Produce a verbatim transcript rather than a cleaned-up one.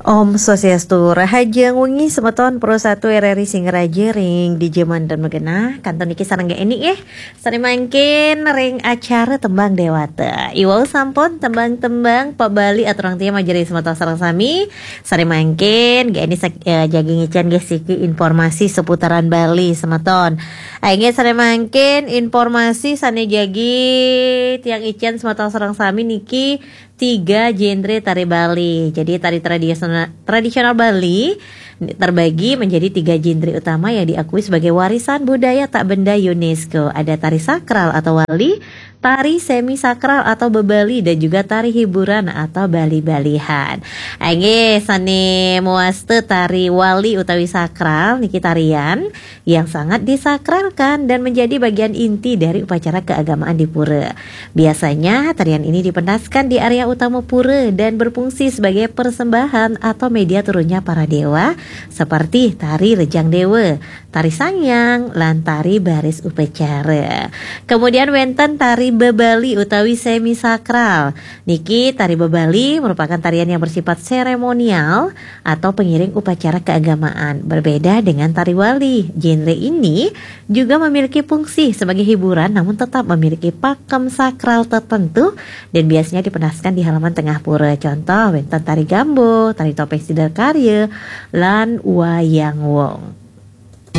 Om Swastiastu, rahajeng wengi semeton Pro satu R R I Singaraja ring dija manten magenah. Kantun niki sareng Gék Eni nggih. Sané mangkin ring acara Tembang Déwata. Iwau sampun tembang-tembang pop Bali aturang tiyang majeng ring semeton sareng sami. Sané mangkin Gék Eni sak-, eh, jagi ngicén nggih siki informasi seputaran Bali semeton. Inggih sané mangkin informasi sané jagi tiyang icén semeton sareng sami niki tiga genre tari Bali. Jadi tari tradisional, tradisional Bali terbagi menjadi tiga genre utama yang diakui sebagai warisan budaya tak benda UNESCO. Ada tari sakral atau wali, tari semi sakral atau bebali, dan juga tari hiburan atau bali-balihan. Inggih sané mawasta tari wali utawi sakral niki tarian yang sangat disakralkan dan menjadi bagian inti dari upacara keagamaan di pura. Biasanya, tarian ini dipentaskan di area utama pura dan berfungsi sebagai persembahan atau media turunnya para dewa, seperti tari Rejang Dewa, tari Sangyang, lan tari Baris Upacara. Kemudian wénten tari bebali utawi semi sakral. Niki tari bebali merupakan tarian yang bersifat seremonial atau pengiring upacara keagamaan. Berbeda dengan tari wali, genre ini juga memiliki fungsi sebagai hiburan namun tetap memiliki pakem sakral tertentu dan biasanya dipentaskan di halaman tengah pura. Contoh, wénten tari gambo, tari topéng Sidakarya, lan wayang wong.